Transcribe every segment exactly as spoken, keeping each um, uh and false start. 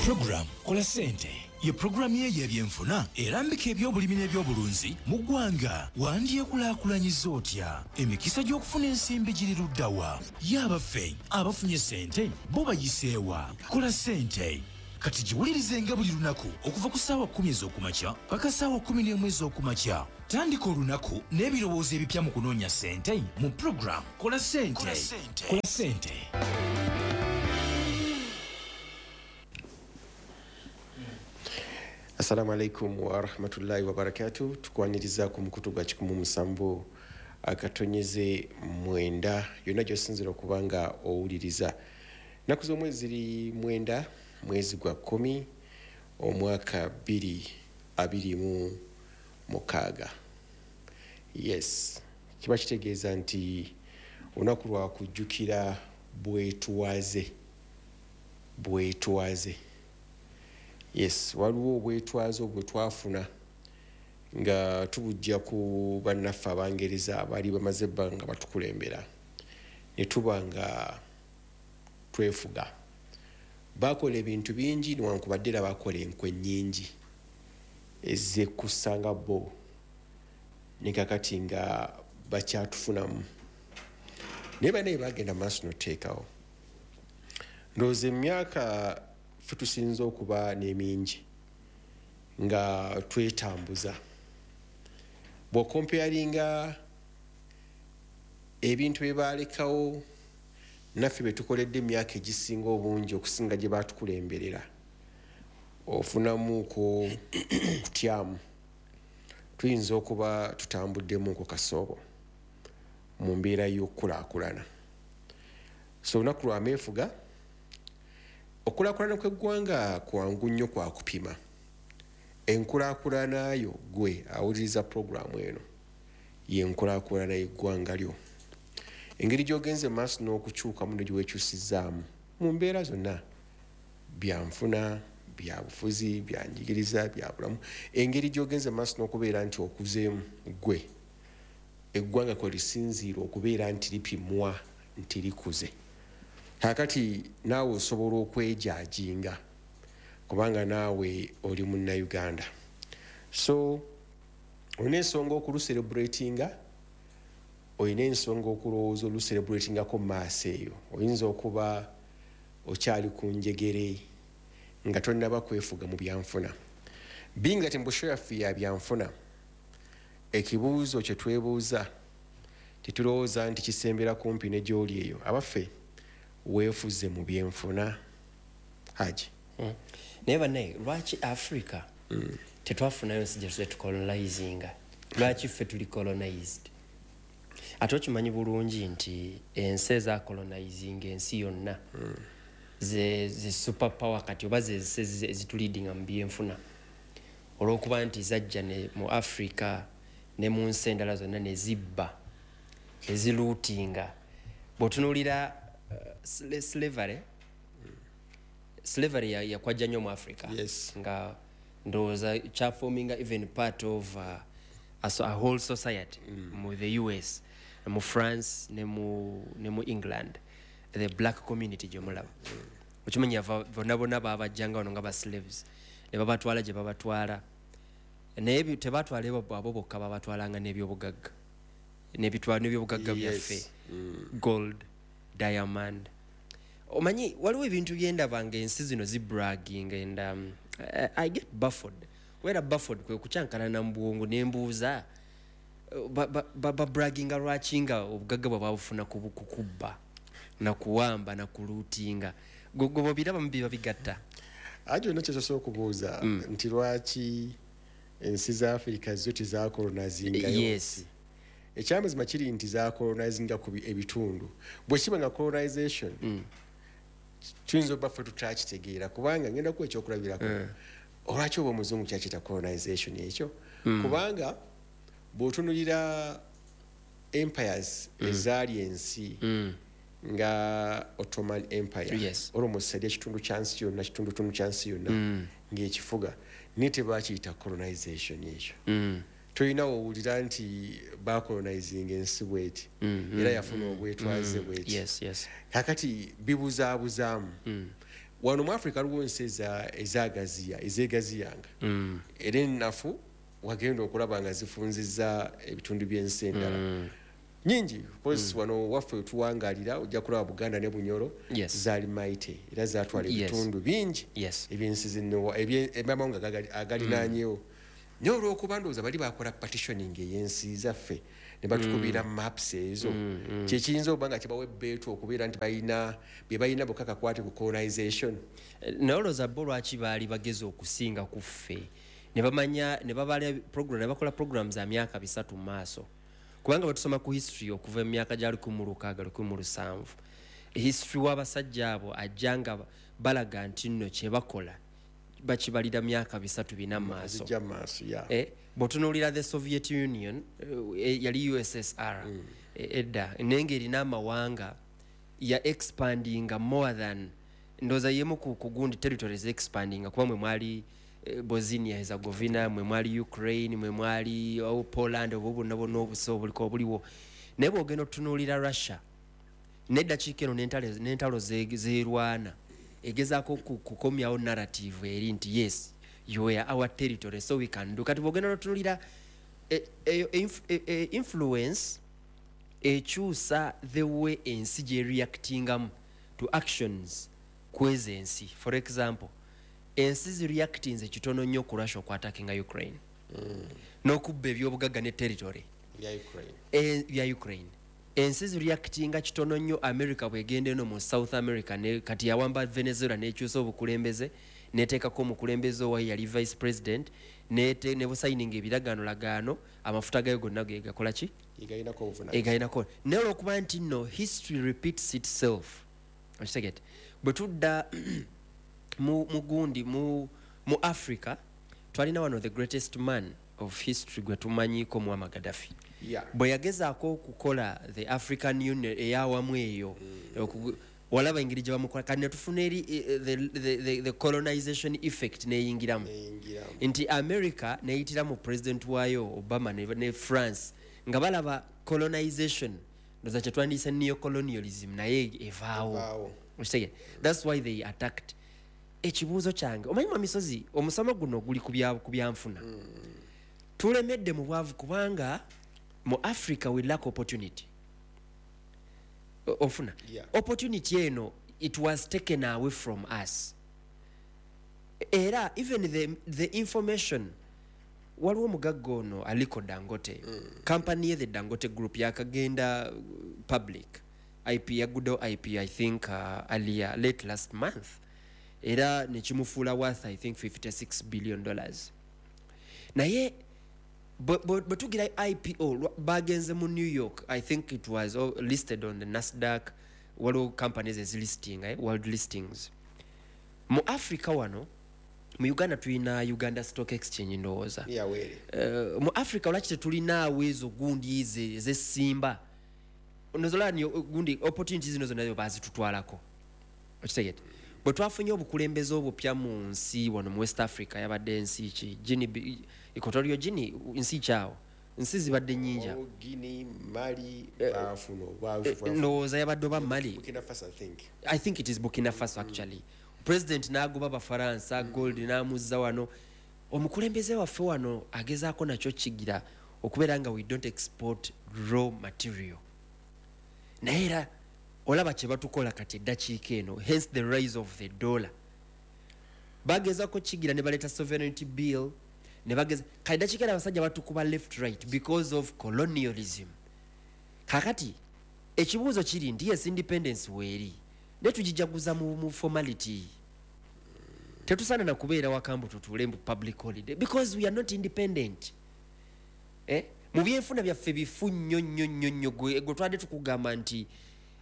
Program Kola Sente ye programu ye y'ebyenfuna erambika ebyobulimi n'ebyobulunzi mu ggwanga. Wandyekulaakulanyiza otya? Emikisa gy'okufuna ensimbi giri ludda wa? Ye abaffe abafunye ssente bo bayiseewa? Kola Ssente kati giwulirizenga buli lunaku okuva ku ssaawa kkumi ez'okumakya paka ssaawa kkumi n'emu ez'okumakya. Tandika olunaku n'ebirowoozo ebipya mu kunoonya ssente mu program Kola Ssente. Kola Ssente. Assalamu alaikum wa rahmatullahi wa barakatuh. Tukwaniriza ku mukutu gwa kikumu musanvu akatonyeze mwenda yonna gy'osinziira okuba nga owuliriza. Ennaku z'omwezi ziri mwenda, mwezi gwa kkumi, omwaka bbiri abiri mu mukaaga. Yes, kiba kitegeeza nti olunaku lwa kujjukira bwetwaze, bwetwaze. Yes, waliwo obwetwaze obwe twafuna nga tubujja ku bannaffe Abangereza abaali bamaze ebbanga nga batukulembera, ne tuba nga twefuga. Bakola ebintu bingi newankubadde era bakola enkwe nnyingi ezekkusanga bo, ne kakati nga bakyatufunamu. Naye bannaye bagenda maaso n'otuteekawo. Ndowooza emyaka ffe tusinze okuba n'emingi nga twetambuza. Bw'okompeyaringa ebintu bye baalekawo naffe bye tukoledde emyaka egisinga obungi okusinga gye baatukulemberera, ofunamuuko okutyamu. Tuyinza okuba tutambuddemuuko kasoobo mu mbeera y'okukulaakulana. So olunaku lwa meefuga. Okulaakulana kw'eggwanga kwangu nnyo kwa kupima. Enkulaakulana yo gwe awuliriza pulogulaamu eno y'enkulaakulana y'eggwanga lyo. Engeri gy'ogenze mu maaso n'okukyukamu ne gyeweekyusizaamu mu mbeera zonna, byanfuna, byabufuzi, byanjigiriza, byabulamu, engeri gy'ogenze mu maaso n'okubeera nti okuzeemu gwe eggwanga kwe lisinziira okubeera nti lipimwa nti likuze. Kaakati naawe osobola okwejajinga kubanga naawe oli munnayuganda. So olina ensonga okuluserebratinga, olina ensonga okulowooza oluserebratingako mu maaso eyo. Oyinza okuba okyali ku njegere nga tonnaba kwefuga mu byanfuna. Being that embusho yaffe ya byanfuna, ekibuuzo kye twebuuza tetulowooza nti kisembera kumpi ne gy'oli eyo. Abaffe weefuze mu byenfuna? Haji. Mm. Naye bannaye, lwaki Africa mm. tetwafunayo nsi gye tuze tucolonizinga? Lwaki ffe tuli colonized? Ate okimanyi bulungi nti ensi ezacolonizinga ensi yonna mm. ze, ze super power kati oba ze ezituleadinga mu byenfuna, olw'okuba nti zajja ne mu Africa ne mu nsi endala zonna ne zibba, ne zilootinga. Bw'otunuulira uh, slavery, slavery yakwajja nnyo mu Africa. Yes. Nga ndowooza kyaforminga even part of uh, a, a whole society mm. mu the U S, mu France ne mu, ne mu England, the black community gye mulaba. Okimanyi bonna bonna baabajjanga wano nga ba slaves ne babatwala gye babatwala, naye tebatwala abo bokka, babatwalanga n'ebyobugagga n'ebyobugagga byaffe, gold, diamond. Omanyi waliwo ebintu byendaba nga ensi zino zibragging and um, I, I get baffled. Kubeera baffled kwe kukyankalana mu bwongo ne mbuuza babragginga lwaki nga obugagga bwe babufuna ku kubba na kuwamba na kulootinga. Gwe bw'obiraba mu biba bigatta. Ajo olina kye okubuuza mm. nti lwaki ensi za Africa zo tezakolonizingayo? Yes. Ekyamazima kiri nti zakolonizinga ku ebitundu. Bwe kiba nga colonization mm. tuyinza obba ffe tutakitegeera, kubanga ngenda kuwa ekyokulabirako. Mm. Olwaki oba omuzungu kyakiyita colonization ekyo? Mm. Kubanga bw'otunuulira empires mm. ezaali ensi mm. nga Ottoman Empire, yes. Almost yali ekitundu kya nsi yonna, kitundutundu kya nsi yonna mm. ng'ekifuga, naye tebakiyita colonization ekyo. Mm. Tolina wowulira nti bacolonizing ensi bweti Mm, era yafuna obwetwaze bweti. Yes yes Kakati bibuzaabuzaamu. Wano mu Africa waliwo ensi eza- ezagaziya, ezegaziyanga era ennafu, wagenda okulaba nga zifunziza ebitundu by'ensi endala nyingi. Course wano waffe tuwangalira, ojja kulaba Buganda ne Bunyoro Yes. zaali mighty era zatwala Yes. ebitundu bingi Yes. ebyensi zino, ebye- ebyamawanga agagali- agalinaanyewo. Naye olwokuba ndowooza bali bakola partitioning ey'ensi zaffe ne batukubira maps ezo, kyekiyinza okuba nga kibawa ebbeetu okubeera nti balina bye balina bokka kakwate ku colonization. Eh, naye olowooza bo lwaki baali bagezi okusinga ku ffe ne bamanya ne babala program, ne bakola program za myaka bisatu mu maaso? Kubanga bwe tusoma ku history okuva mu myaka gya lukumi mu lukaaga, lukumi mu lusanvu, history w'abasajja abo ajja nga balaga nti nno kye bakola bakibalira myaka bisatu, bina mu maaso. Zijja mu maaso ya. Eh, bw'otunuulira the Soviet Union, eh, yali U S S R mm. edda, naye ng'erina amawanga ya expandinga more than, ndowooza yemu ku ku gundi territories expandinga, kuba mwe mwali eh, Bosnia Herzegovina, mwe mwali Ukraine, mwe mwali, oh, Poland, obwo bwonna bwonna obusa obuliko obuliwo. Naye bw'ogenda otunuulira Russia neddakiika eno n'entalo n'entalo ze- zerwana, egezaako ku- kukomyawo narrative eri nti yes, you were our territory, so we can do. Kati bwogenda notunulira eyo inf- e- e- influence ekyusa the way ensi gyereactingamu to actions kweza ensi. For example, ensi zireactinze kitono nnyo ku Russia okwattackinga Ukraine mm. n'okubba ebyobugagga ne territory bya Ukraine. E- bya Ukraine. Ensi zireactinga kitono nnyo America bwegenda eno mu South America ne, kati yawamba Venezuela nekyusa obukulembeze, neteekako omukulembeze owayo yali vice president, nete- ne busayininga ebiragaano lagaano, amafuta gayo gonna gegakola ki? Egalinako obuvunanyizibwa. Egalinako. Naye olwokuba nti nno history repeats itself, okitegete, bwe tudda mu, mu gundi mu, mu Africa, twalina wano the greatest man of history gwe tumanyiiko, Muammar Gaddafi. Yeah. Bwe yagezaako okukola the African Union eyawamu eyo, mm. walaba engeri gye bamukola. Kati netufuna eri eh, the, the, the, the colonization effect neyingiramu. Neyingiramu. Nti America neyitira mu president waayo Obama ne, ne France nga balaba colonization, ndoza kyetwandiyise neocolonialism, naye evaawo. Evaawo. Okitegeera? That's why they attacked. Ekibuuzo kyange, omanyi mwamisozi, omusomo guno guli ku bya- ku byanfuna. Tulemedde mu bwavu kubanga mu Africa we lack opportunity. O- ofuna Yeah. opportunity eno, it was taken away from us. Era even the, the information, waliwo omugagga ono Aliko Dangote, mm. company ye the Dangote Group yakagenda uh, public I P, yaguddewo I P I think uh, earlier, late last month, era nekimufuula worth I think fifty-six billion dollars. Naye bwe bwe- bwe tugira I P O, lwa- bagenze mu New York, I think it was, oh, listed on the NASDAQ. Waliwo companies ezilisting, eh, world listings. Mu Africa wano, mu Uganda tulina Uganda Stock Exchange, ndowooza. Yawere. uh, mu Africa lwaki tetulinaawo ezo gundi eze ezesimba nozolani gundi opportunity zino zonna bazitutwalako? Okitegete, bwe twafunye obukulembeze obupya mu nsi wano mu West Africa, yabadde ensi ki? Guinea, Equatorial Guinea, nsi kyawo, nsi zibadde nyingi awo. Guinea, Mali bafuna obwavu. Ndowooza yabadde oba Mali. Burkina Faso, I think. I think it is Burkina Faso actually. President n'agoba Abafaransa, gold n'amuzza wano. Omukulembeze waffe wano agezaako nakyo kigira okubeera nga we don't export raw material, naye era olaba kye batukola kati eddakiika eno, hence the rise of the dollar. Bagezaako kigira ne baleeta sovereignty bill ne bageza. Kati eddakiika eno abasajja batukuba left, right because of colonialism. Kakati ekibuuzo kiri nti yes, independence weeri, naye tugijaguza mu, mu formality. Tetusaana na kubeera wakambu tutuule mu public holiday because we are not independent, eh? Mu byenfuna byaffe bifu nnyo nnyo nnyo nnyo. Gwe gwe twadde tukugamba nti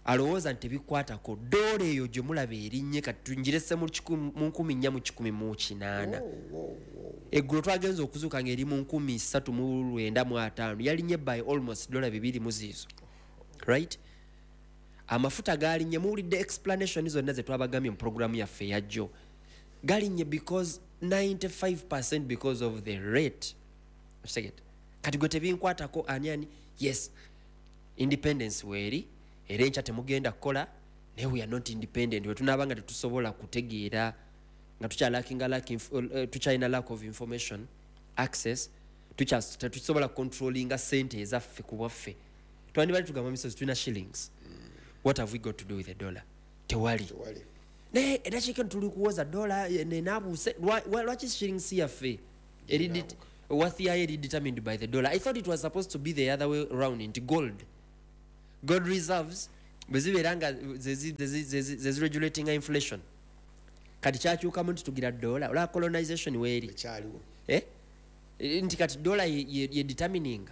alowooza nti tebikwatako doola eyo gye mulaba erinnye kati tungirese mu kikumi- mu nkumi nnya mu kikumi mu kinaana. Eggulo twagenza okuzuuka ng'eri mu nkumi ssatu mu lwenda mu ataano, yalinnye by almost dola bibiri mu ziizo, right? Amafuta galinnye, muwulidde explanation zonna ze twabagambye mu programu yaffe eyajjo. Galinnye because ninety-five because of the rate. Okitegedde? Kati gwe tebinkwatako ani ani. Yes, independence weeri, era enkya temugenda kukola, naye we are not independent. We tunaaba nga tetusobola kutegeera, nga tukyalakinga lack inf- eh, tukyalina lack of information access, tukya- tetusobola controllinga sente ezaffe ku bwaffe. Twandibadde tugamba misozi tulina shillings, what have we got to do with the dollar? Tewali. Tewali. Naye eddakiika eno tuli kuwoza dola nenabuuse. Lwaki shillings yaffe eri det- worth yayo eri determined by the dollar? I thought it was supposed to be the other way round, nti gold gold reserves bwe zibeera nga zeziregulatinga inflation. Kati kyakyukamu nti tugira dola olwa colonization weeri. Ekyaliwo. Eh? Eh, nti kati dola ye, ye, ye determininga.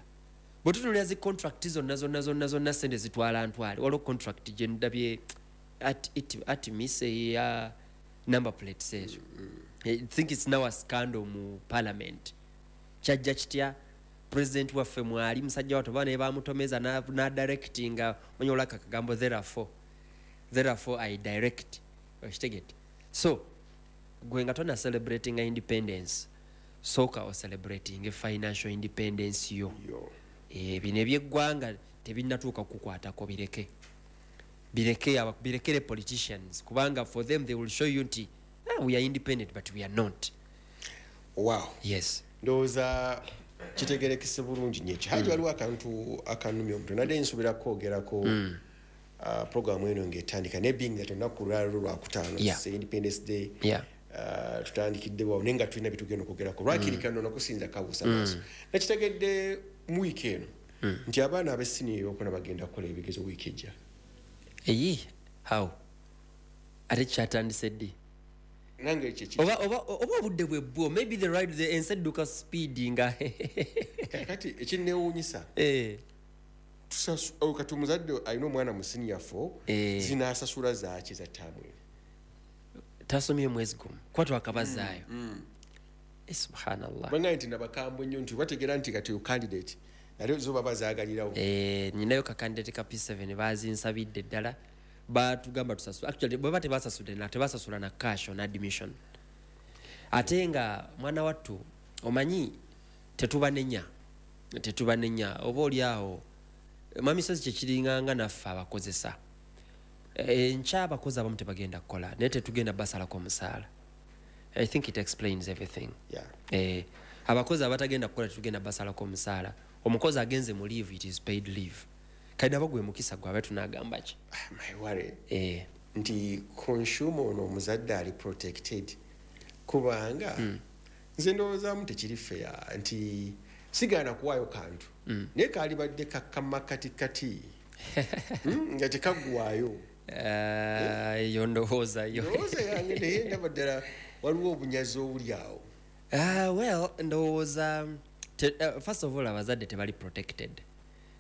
Bwe tutunulira zi contract zonna zonna zonna zonna, sente zitwala ntwale. Waliwo contract gye ndabye at, it, atmis eya number plates ezo. I think it's now a scandal mu parliament. Kyajja kitya? President waffe mwali musajja wattu oba naye bamutomeza na, na directinga manyi olaka akagambo therefore therefore I direct, okitegedde? So gwe nga tona celebrating independence, sooka ocelebrating financial independence yo. Yo. Eh, bino ebyeggwanga tebinnatuuka kukukwatako, bireke bireke aba- birekere politicians, kubanga for them they will show you nti, ah, we are independent, but we are not. Wow. Yes. Ndowooza kitegerekese bulungi nnyo ekyo, Haji. Waliwo akantu akanumya omutwe, nadde nsuubira kwogerako uh, programu eno ng'etandika, naye being that olunaku lwaliro lwakutaano, Yeah. it's Independence Day, Yeah. uh, tutandikiddewo naye nga tulina byetugenda okwogerako. Lwakiri kano nakusinza kabuusa maaso, nakitegedde mu wiiki eno nti abaana ab'essiniya eyokuna bagenda kukola ebigezo wiiki ejja. Eyi, how? Ate kyatandise ddi? Nange ekyo ki- Oba oba oba obudde bwe bwo, maybe the right, the ensi edduka speed nga Kati ekinneewuunyisa, Eh, tusasu- oh, kati omuzadde alina omwana mu senior four, Eh. zinaasasula zaaki za ttaamu eno? Tasomye mwezi gumu kuba twakabazaayo. Eh, subhanallah. Bangaye nti nabakambwe nnyo nti bategeera nti kati candidate nate zo baba zaagalirawo. Eh, nyinayo kakandidate ka P seven, bazinsabidde ddala, batugamba tusasula. Actually bweba tebasasudde na tebasasula na cash on admission. Ate nga mwana wattu omanyi tetubanenya, tetubanenya, oba oli awo mwami sozi kyekiringanga naffe abakozesa. Eh, enkya abakozi abamu tebagenda kukola, naye tetugenda basalako omusaala. I think it explains everything. Yeah. Eh, abakozi abatagenda kukola tetugenda basalako omusaala. Omukozi agenze mu leave, it is paid leave. Kati nabo gwe mukisa gwabe, tunagamba ki? Ah, my worry Eh, nti consumer ono omuzadde ali protected, kubanga mm. nze ndowoozaamu tekiri fair nti sigaana kuwaayo kantu mm. naye kaalibadde kakama katikati Mm, nga tekaggwayo. Eh, eyo ndowooza yo. Ndowooza yange, naye ndaba ddala waliwo obunyazi obuli awo. Ah, well, ndowooza te, uh, first of all abazadde tebali protected,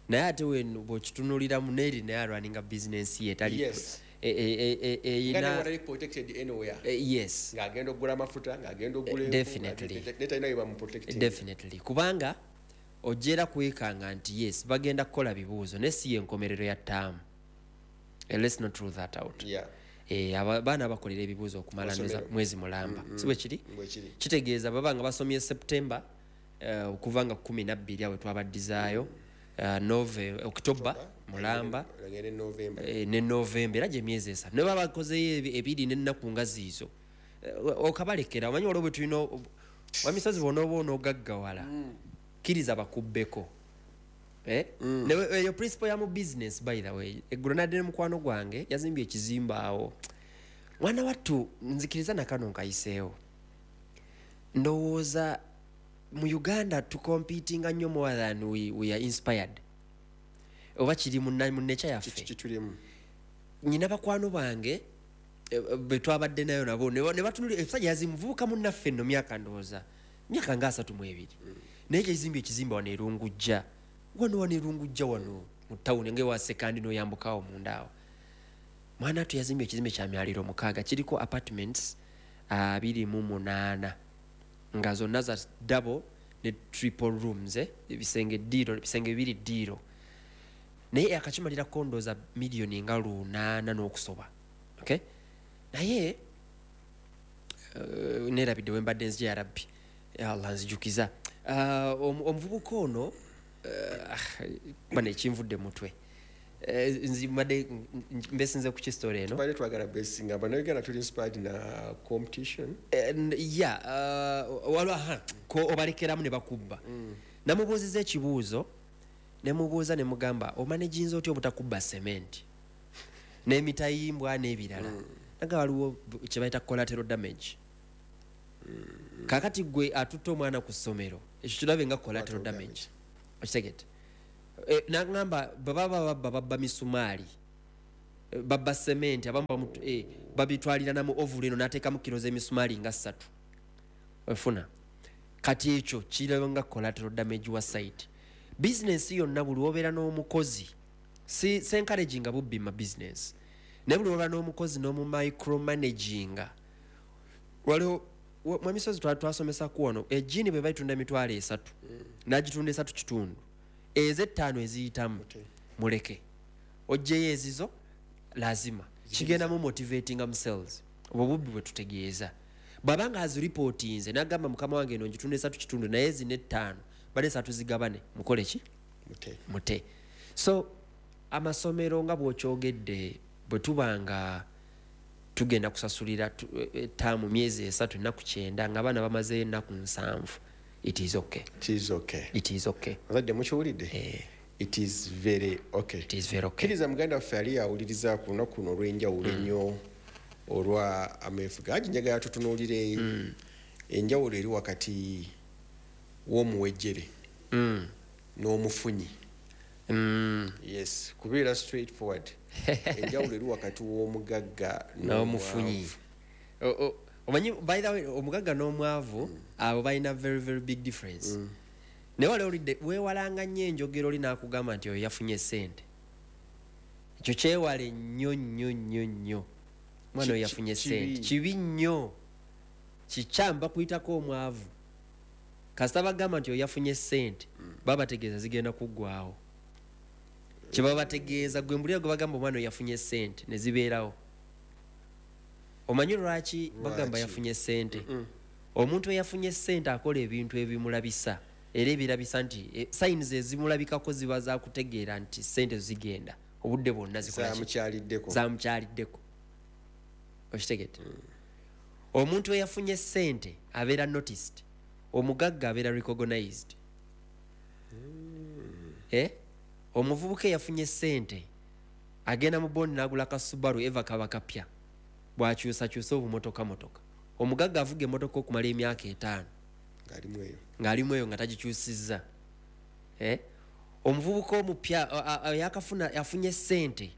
naye ate wen bw'okitunuliramu neeri naye alwaninga business ye tali Yes. e- e- e- e- Nga eyina newatali protected anywhere, eh, yes ng'agenda okugula amafuta, ng'agenda okugula enku, Definitely. ng'agenda- ne talina bye bamuprotecting. Definitely, kubanga ojja kwekanga nti yes, bagenda kukola bibuuzo, naye si yenkomerero ya ttaamu. Eh, let's not rule that out. Yeah. Eh, aba- abaana bakolera ebibuuzo okumala Amasomero. mwezi- mwezi mulamba, si bwe kiri? Bwe kiri. Kitegeeza baba nga basomye September, eh, okuva nga kumi nabbiri awe twabaddizaayo, eh, Nove, October mulamba, Bagende November. eh, ne November, era gyemyezi esatu ne baba bakozeyo ebi- ebiri n'ennaku nga ziizo. Eh, okabalekera omanyi waliwo bwe tulina wamisozi bwonooba onoogaggawala, kkiriza bakubbeko. Eh? Ne- eyo principle ya mu business, by the way. Eggulo nadde ne mukwano gwange, yazimbye ekizimbe awo. Mwana wattu, nzikiriza nakano nkayiseewo. Ndowooza mu Uganda tucompetinga nnyo more than we, we are inspired, oba kiri mu na- mu nature yaffe. Kitulimu. Nyina bakwano bange eh, be twabadde nayo nabo ne ne batunulira ebisajja yazimuvubuka munnaffe nno, myaka ndowooza myaka nga asatu mu ebiri, naye kyezimbye ekizimbe wano erungujja wano wano erungujja wano mu tawuni nga ewa Sekandi n'oyambukawo munda awo. Mwana atu yazimbye ekizimbe kya myaliro mukaaga, kiriko apartments abiri mu munaana, nga zonna za double ne triple rooms, eh? Ebisenge ddiiro, ebisenge bibiri ddiiro, naye akakimalirako ndowooza miliyoni nga lunaana n'okusoba. Okay, naye uh, nerabidde wembadde nzija. Ya Rabbi, ya Allah, nzijukiza. Uh, omuvubuka ono bane ekinvudde mutwe, nzimadde mbesinze ku kisitole eno. Tubadde twagala besinga abannayuganda tuli inspired na competition. Ya, waliwo ko obalekeramu ne bakubba. Namubuuziza ekibuuzo, nemubuuza ne mugamba, omanaginza otya obutakubba cement n'emitayimbwa n'ebirala? Naga waliwo kye bayita collateral damage. Kakati gwe atutte omwana ku ssomero, ekyo kirabe nga collateral damage, okitegedde? Nagamba baba babba babba misumaali, babba cement, abamu babitwalira na mu ovule eno n'ateekamu kiro z'emisumaali nga ssatu, ofuna. Kati ekyo kiraba nga collateral damage wa site. Bizinensi yonna buli wobeera n'omukozi, si encouraginga bubbi ma business, naye buli wobeera n'omukozi n'omu micromanaginga. Waliwo mwamisozi twasomesa wano, ejjiini bwe bayitunda emitwalo esatu, n'agitunda esatu kitundu, ez'ettaano eziyitamu muleke oggyeyo ezizo, lazima kigenda mu motivatinga mu sales. Obwo bubbi bwe tutegeeza. Bw'abanga aziripootinze n'agamba, mukama wange, eno ngitunda esatu kitundu, naye zino ettaano bale esatu zigabane, mukole ki? Mute. So amasomero nga bw'okyogedde, bwe tuba nga tugenda kusasulira taamu myezi esatu ennaku kyenda nga abaana bamazeyo ennaku nsanvu, it is okay. It is okay. It is okay. Azadde mukiwulidde? Eh. It is very okay. It is very okay. Kkiriza muganda waffe ali awuliriza ku lunaku luno olw'enjawulo ennyo olwa ameefuga agi, njagala tutunuulire enjawulo eri wakati w'omuwejjere n'omufunyi. Yes, kubeera straight forward, enjawulo eri wakati w'omugagga n'omufunyi. Omanyi, by the way, omugagga n'omwavu abo balina very very big difference. Naye wali olidde weewalanga nnyo enjogero oli n'akugamba nti oyo yafunye ssente. Ekyo kyewale nnyo nnyo nnyo nnyo. Omwana oyo yafunye ssente, kibi nnyo, kikyamu bakuyitako omwavu. Kasita bagamba nti oyo yafunye ssente, baba bategeeza zigenda kuggwawo. Kye bategeeza gwe mbulira gwe bagamba omwana oyo yafunye ssente ne zibeerawo. Omanyi lwaki bagamba yafunye ssente? Omuntu eyafunye ssente akola ebintu ebimulabisa, era ebirabisa nti signs ezimulabikako ziba zakutegeera nti ssente zigenda obudde bwonna zikola ki? Zamukyaliddeko. Zamukyaliddeko, okitegedde? Omuntu eyafunye ssente abeera noticed, omugagga abeera recognized. Eh? Omuvubuka eyafunye ssente agenda mu bondi n'agula ka Subaru eva kaba kapya, bw'akyusakyusa obumotoka motoka. Omugagga avuga emmotoka okumala emyaka etaano ng'alimu eyo, ng'alimu eyo nga tagikyusizza. Eh? Omuvubuka omupya yakafuna yafunye ssente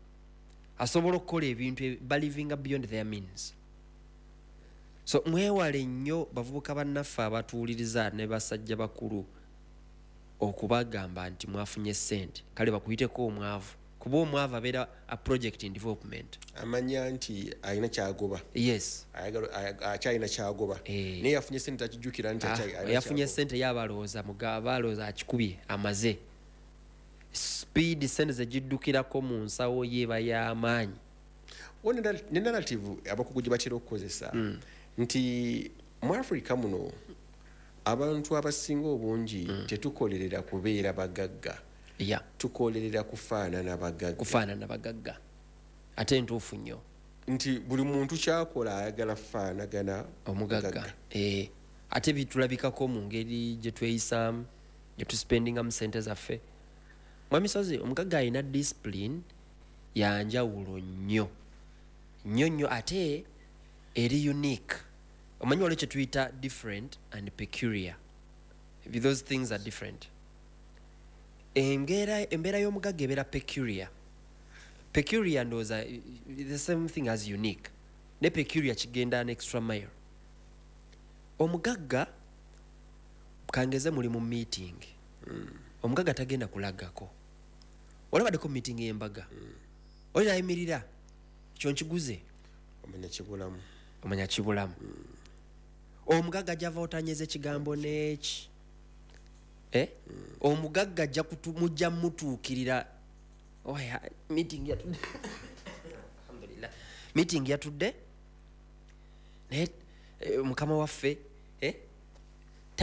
asobola okukola ebintu, balivinga beyond their means. So mwewale nnyo bavubuka bannaffe abatuwuliriza ne basajja bakulu okubagamba nti mwafunye ssente, kale bakuyiteko omwavu, kuba omwavu abeera a project in development. Amanya nti alina kyagoba. Yes. Akyalina kyagoba, naye yafunye ssente takijjukira nti yafunye ssente. Ye abalowooza abalowooza akikubye amaze. Speed ssente zegiddukirako mu nsawo ye eba y'amaanyi. Ne narrative abakugu gye batera okukozesa nti mu Africa muno abantu abasinga obungi tetukolerera kubeera bagagga, yeah. Tukolerera kufaanana bagagga. Kufaanana bagagga, ate ntuufu nnyo. Nti buli muntu kyakola ayagala faanagana omugagga. Eh, ate bitulabikako mu ngeri gye tweyisaamu, gye tuspendingamu ssente zaffe. Mwami Sozi, omugagga alina discipline yanjawulo nnyo nnyo nnyo, ate eri unique. Omanyi waliwo kye tuyita different and peculiar. Those things are different. Embeera embeera y'omugagga ebeera peculiar. Peculiar ndowooza the same thing as unique, ne peculiar kigenda an extra mile. Omugagga, kangeze muli mu meeting, omugagga tagenda kulagako. Olabaddeko meeting y'embaga, oli ayimirira kyo nkiguze, omanya kibulamu. Omanya kibulamu. Omugagga ajava otanyeza ekigambo n'eki, eh? Omugagga ajja mujja mutuukirira. Oya, meeting yatudde, alhamdulillah, meeting yatudde, naye mukama waffe, eh?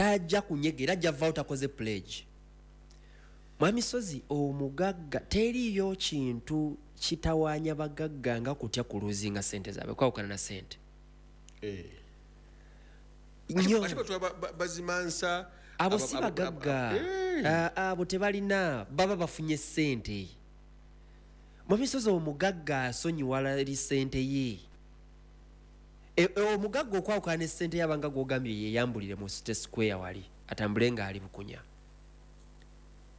Tajja kunyegera, ajja vaawo takoze pledge. Mwami Sozi, omugagga teriyo kintu kitawaanya bagagga nga kutya kuluzinga sente zaabwe, kwawukana na sente. Eh. Nnyo. Ate batula ba- ba- bazimansa. Abo aba- si abo- bagagga. abo- Eh. Ah, abo tebalina, baba bafunye sente. Mwami Sozi, omugagga asonyiwala eri sente ye. E, e, omugagga okwawukana ne sente yabanga gw'ogambye yeyambulire mu City Square wali atambule ng'ali bukunya,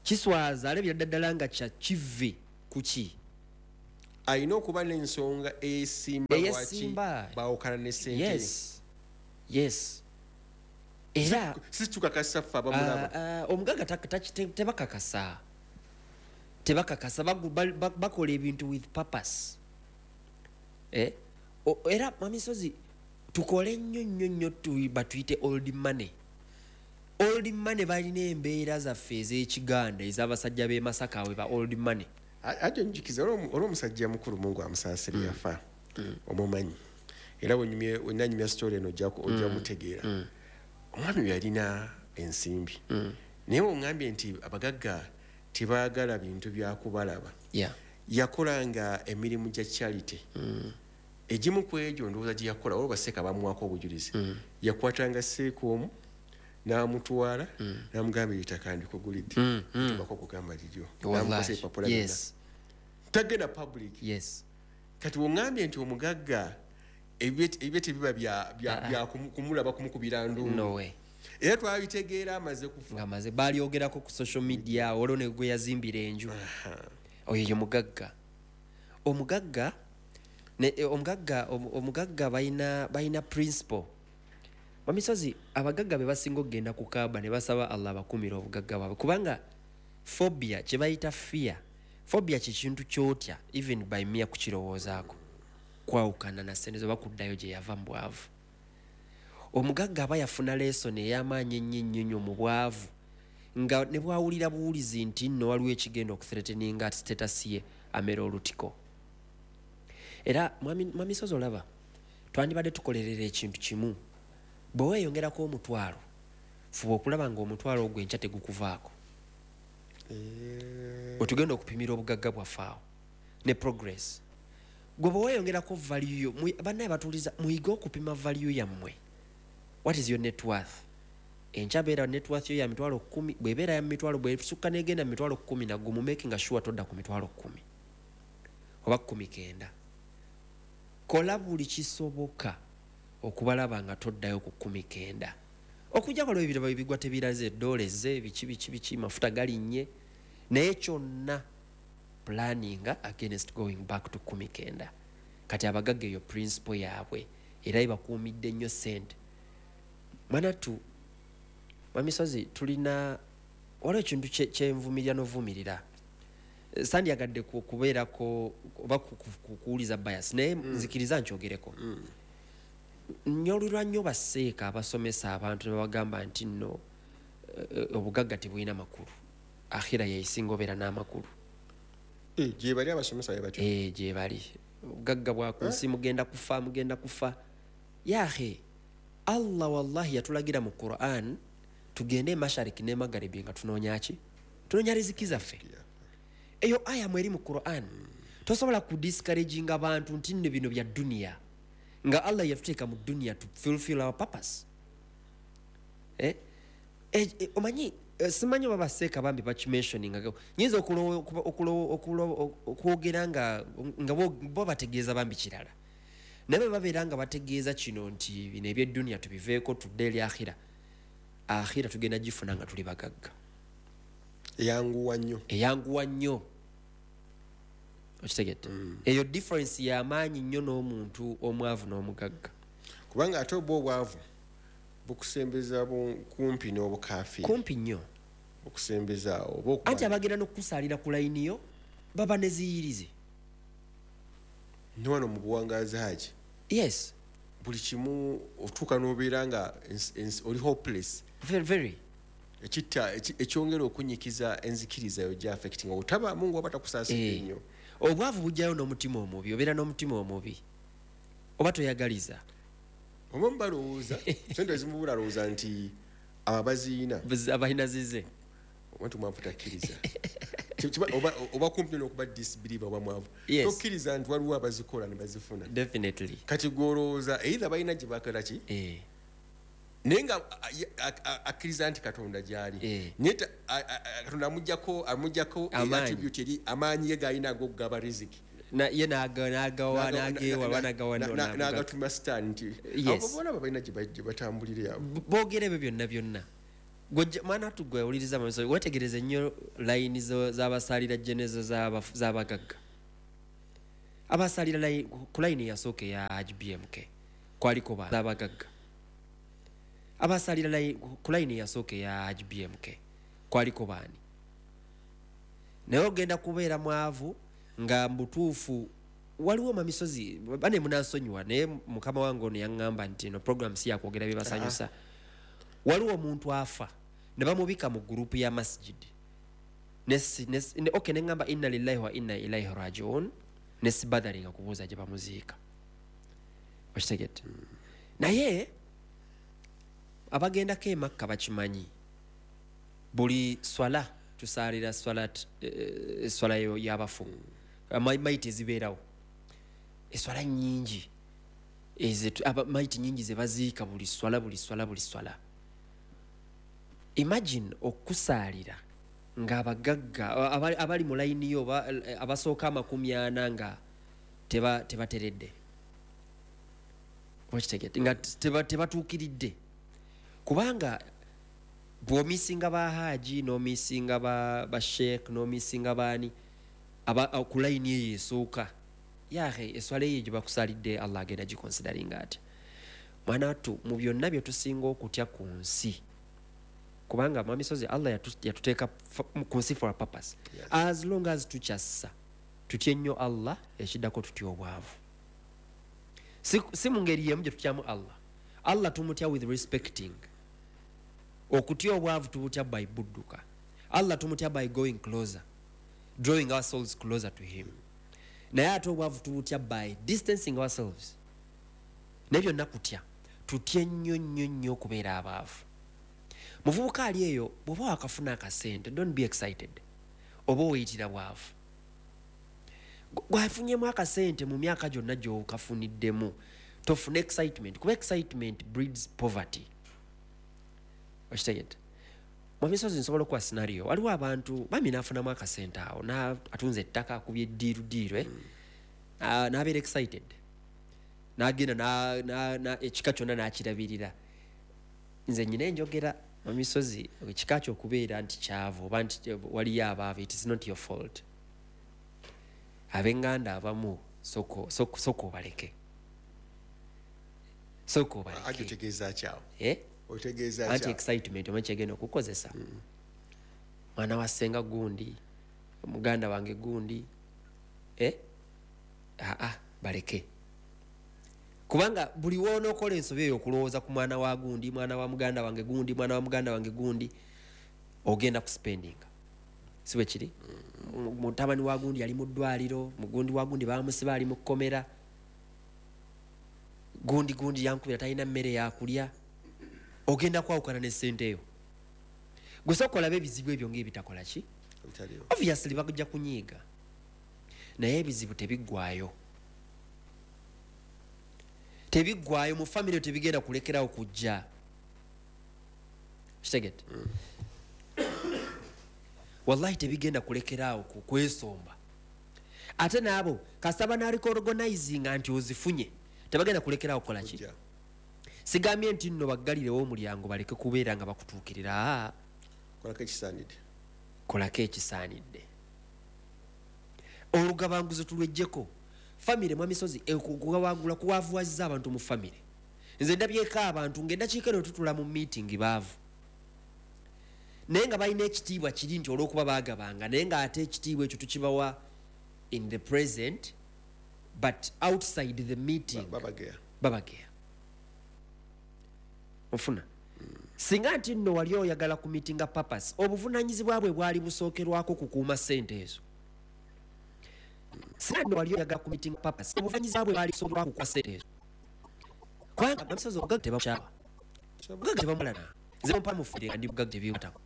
kiswaza, alabira ddala nga kya kive ku ki. Alina okuba n'ensonga eyesimba lwaki Eyesimba. bawukana ne sente. yes yes era Si tukakasa ffe abamulaba. Ah, ah, omugagga tak- taki- te- tebakakasa tebakakasa bagu- ba- ba- bakola ebintu with purpose. Eh? O- era Mwami Sozi, tukole nnyo nnyo nnyo, tu- batuyite old money. Old money balina embeera zaffe ez'ekiganda, ez'abasajja b'e Masaka, we ba old money. Ate njukiza olw'omusajja mukulu, Mungu amusaasire, yafa, omumanyi, era wenyumye- wenanyumya story eno ojja ku- ojja mutegeera. Omwami we yalina ensimbi, naye oŋŋambye nti abagagga tebaagala bintu byakubalaba. Yeah. Yakolanga emirimu gya charity. Egimu ku egyo ndowooza gye yakola, olwo baseeka bamuwako obujulizi, yakwatanga seeka omu n'amutwala n'amugamba, "Ettaka ndikugulidde, tubako okugamba liryo." N'amukwasa ebipapula byonna. Yes tagenda public. Yes kati oŋŋambye nti omugagga ebye ebye tebiba bya- bya- bya kumu- kumulaba kumukubira nduulu. No way. Era twabitegeera amaze kufa. Nga maze balyogerako ku social media, olwo ne gwe yazimbira enju, oyo ye mugagga. Omugagga ne- eh, omugagga omu- omugagga balina balina principle. Mwamisozi, abagagga be basinga okugenda ku Kaaba ne basaba Allah abakumira obugagga bwabwe, kubanga phobia, kye bayita fear, phobia kyekintu kyotya even by mere kukirowoozaako, kwawukana na sente zoba kuddayo gye yava mu bwavu. Omugagga aba yafuna lesson ey'amaanyi ennyo ennyo nnyo mu bwavu, nga ne bwawulira buwulizi nti nno waliwo ekigenda okuthreateninga status ye, amera olutiko. Era mwami mwami Sozi, olaba twandibadde tukolerera ekintu kimu: bwe weeyongerako omutwalo, fuba okulaba nga omutwalo ogwo enkya tegukuvaako. Wetugenda okupimira obugagga bwaffe awo ne progress. Gwe bwe weeyongerako value yo, mui- bannaye batuuliza, muyige okupima value yammwe. What is your net worth? Enkya beera net worth yo ya mitwalo kumi, bwebeera ya mitwalo, bwesukka negenda mu mitwalo kumi nagumu, making sure todda ku mitwalo kumi oba kumi kenda. Kola buli kisoboka okubalaba nga toddayo ku kumi kenda, okujja waliwo ebirabo ebigwa tebiraze, eddoola ezze, biki biki biki, mafuta galinnye, naye kyonna planning against going back to kumi kenda. Kati abagagga eyo principle yaabwe, era ebakuumidde nnyo sente. Mwanattu Mwamisozi, tulina, waliwo ekintu kye- kyenvumirira n'ovumirira. Sandyagadde ku- kubeerako oba ku- ku- ku- kuwuliza bias, naye nzikiriza nkyogereko. Nyolulwa nnyo baseeka abasomesa abantu ne babagamba nti nno eh, obugagga tebulina makulu, akhira yesinga obeera n'amakulu. Eh, gye bali abasomesa be batyo. Eh, gye bali. Obugagga bwa ku nsi, mugenda kufa, mugenda kufa. Yahe Allah, wallahi yatulagira mu Quran tugende emashariki ne magaribi nga tunoonya ki? Tunoonya riziki zaffe. Eyo aya mweri mu Quran. Tosobola kudiscouraginga abantu nti nno bino bya duniya, nga Allah yatuteeka mu duniya to fulfill our purpose. Eh? Eh, eh, omanyi eh, simanyi oba baseeka bambi bakimentioninga, nyinza okulowo- okuba- okulowo- okulowo- okwogera nga nga bo bo bategeeza bambi kirala, naye bwe babeera nga bategeeza kino nti bino ebyeduniya tubiveeko tudde eri akhira, akhira tugenda gifuna nga tuli bagagga. Eyanguwa nnyo. Eyanguwa nnyo, okitegedde? Eyo difference y'amaanyi nnyo n'omuntu omwavu n'omugagga. Kubanga ate obwa obwavu bukusembeza bu- kumpi n'obukafiiri. Kumpi nnyo. Bukusembeza awo oba okuba- Anti abagenda n'okukusaalira ku layini yo baba ne ziyirize. Ne wano mu buwangaazi, haji, Yes. buli kimu otuuka n'obeera nga ens- ens- oli hopeless. Very, very. Ekitta eki- ekyongera okunyikiza enzikiriza yo gya affecting otaba Mungu aba takusaasira Eh, nnyo. Obwavu bujjayo n'omutima omubi, obeera n'omutima omubi oba toyagaliza. Oba mubalowooza sente ezimu, bulalowooza nti Abaziina abalina zize omuntu mwavu takkiriza. Oba, oba kumpi n'okuba disbeliever oba mwavu. Yes. Tokkiriza nti waliwo abazikola ne bazifuna. Definitely. Kati gw'olowooza either balina gye bakola ki, Eh. naye nga akkiriza nti Katonda gy'ali, Eh. naye ta- a- a- a- Katonda amuggyako amuggyako Amaanyi. attribute eri amaanyi ge g'alina ag'okugaba riziki. Na- ye n'aga- n'agawa n'agewa oba n'agawa Na- na- n'agawa. n'agatuma Sitaani nti Yes. abo bona balina gye ba- gye batambulira abo. Boogera ebyo byonna byonna. Gw'ojja- mwana wattu gwe owuliriza amamiso, weetegereze nnyo layini z'abasaalira genezo z'abafu- z'abagagga abasalira layini ku layini eyasooka eya H B M K kwaliko ba z'abagagga abasalira layini ku layini eyasooka eya H B M K kwaliko baani. Naye ogenda kubeera mwavu nga mbutuufu waliwo mamisozi bane munansonyiwa, naye mukama wange ono yaŋŋamba nti eno program si yakwogera bibasanyusa. Waliwo omuntu afa ne bamubika mu gurupu ya masjid. Nesi, nesi, ne, okay, ne ŋŋamba inna lillahi wa inna ilaihi rajiun, ne sibadalinga kubuuza gye bamuziika. Okitegedde? Mm. Naye abagendako e Makka bakimanyi, buli swala tusaalira swalat, eh, swala y'abafu mm. maiti ezibeerawo eswala nnyingi maiti nnyingi ze baziika buli swala buli swala buli swala. Imagine okusaalira ng'abagagga abali mu layini yo abasooka amakumi ana nga tebateredde, okitegedde, nga tebatuukiridde, kubanga bw'omisinga ba haji n'omisinga ba sheikh n'omisinga baani ku layini eyo esooka, yahe eswala eyo gye bakusaalidde Allah agenda gikonsidaringa atya. Mwana wattu mu byonna bye tusinga okutya ku nsi, kubanga mwami Sozi Allah yatuteeka ku nsi for a purpose. Yes. As long as tukyassa tutye nnyo Allah, ekiddako tutya obwavu. Si, si mu ngeri y'emu gye tutyamu Allah. Allah tumutya with respecting. Okutya obwavu tubutya by budduka. Allah tumutya by going closer, drawing our souls closer to him. Naye ate obwavu tubutya by distancing ourselves. Naye byonna kutya, tutye nnyo nnyo nnyo okubeera abaavu. Muvubuka ali eyo bw'oba wakafuna akasente, don't be excited, oba oyitira bwavu. Gwafunyemu akasente mu myaka gyonna gy'okafuniddemu, tofuna excitement, kuba excitement breeds poverty. Okitegedde? Mwami Sozi nsobola okuwa scenario, waliwo abantu bami n'afunamu akasente awo, atunze ettaka akubye eddiiru ddiiru, eh? mm. N'abeera excited, n'agenda ekika kyonna n'akirabirira. Nze nnyina enjogera Mwami Sozi, ekika ky'okubeera nti kyavu oba nti waliyo abaavu, it is not your fault. Ab'enganda abamu soko soko obaleke, soko obaleke. Ate otegeeza ki awo? Eh? Otegeeza ki awo? Anti excitement omanyi kyegenda okukozesa. Mwana wa ssenga gundi, muganda wange gundi, eh? Aa, baleke. Kubanga buli w'onookola ensobi eyo okulowooza ku mwana wa gundi, mwana wa muganda wange gundi, mwana wa muganda wange gundi, ogenda kuspendinga. Si bwe kiri? Mutabani wa gundi ali mu ddwaliro, mugundi wa gundi baamusiba ali mu kkomera, gundi gundi yankubira talina mmere yakulya. Ogenda kwawukana ne ssente eyo. Gwe sooka olabe ebizibu ebyo ng'ebitakola ki? Obviously bajja kunyiiga, naye ebizibu tebiggwaayo. Tebiggwaayo mu famire, tebigenda kulekerawo kujja. Kitegedde? Mm. Wallahi tebigenda kulekerawo kwesomba. Ate n'abo kasita banaaliko organizinga nti ozifunye, tebagenda kulekerawo kukola ki? Sigambye nti nno baggalirewo omulyango baleke kubeera nga bakutuukirira. Kolako ekisaanidde. Kolako ekisaanidde. Olugabanguzo tulweggyeko. Famire Mwami Sozi okugawangula kuwavuwazza abantu mu famire. Nze ndabyeko abantu ng'endakiika eno tutula mu meeting baavu, naye nga balina ekitiibwa kiri nti olw'okuba baagabanga, naye ng'ate ekitiibwa ekyo tukibawa in the present but outside the meeting babageya. Babageya. Ofuna? Singa nti nno wali oyagala ku meetinga purpose, obuvunaanyizibwa bwe bwali busookerwako kukuuma ssente ezo. Singa nno wali oyagala ku meeting purpose, obuvunaanyizibwa bwe bwali busookerwako kukuuma ssente ezo. Kubanga Mwami Sozi obugagga tebamukyawa, obugagga tebamumalana. Nze ompa mufiire nga ndi mugagga, tebinkwatako.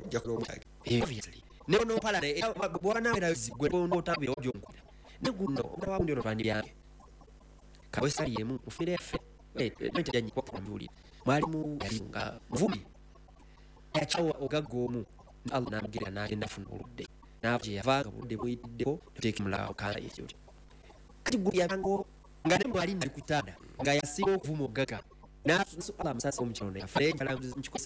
Ojja kuba. Eh, obviously ne onompala bwaba nawe gwe onotabira ojonkubira ne guno omwana ono twandibyange kawe sali emu mu famire yaffe ntajanyikwakuambiwulira mwalimu yali nga muvumi, yakyawa ogagga omu, Allah namugerera n'agenda afuna obulwadde, naava gye yava nga obulwadde buyitiddeko tuteeke mulala kansa ekyo. Kati gwe yabanga nga ne mwali nali ku kitanda nga yasinga okuvuma ogagga, Allah amusasa omukyalo, yafa. Naye njagala nkikozesa.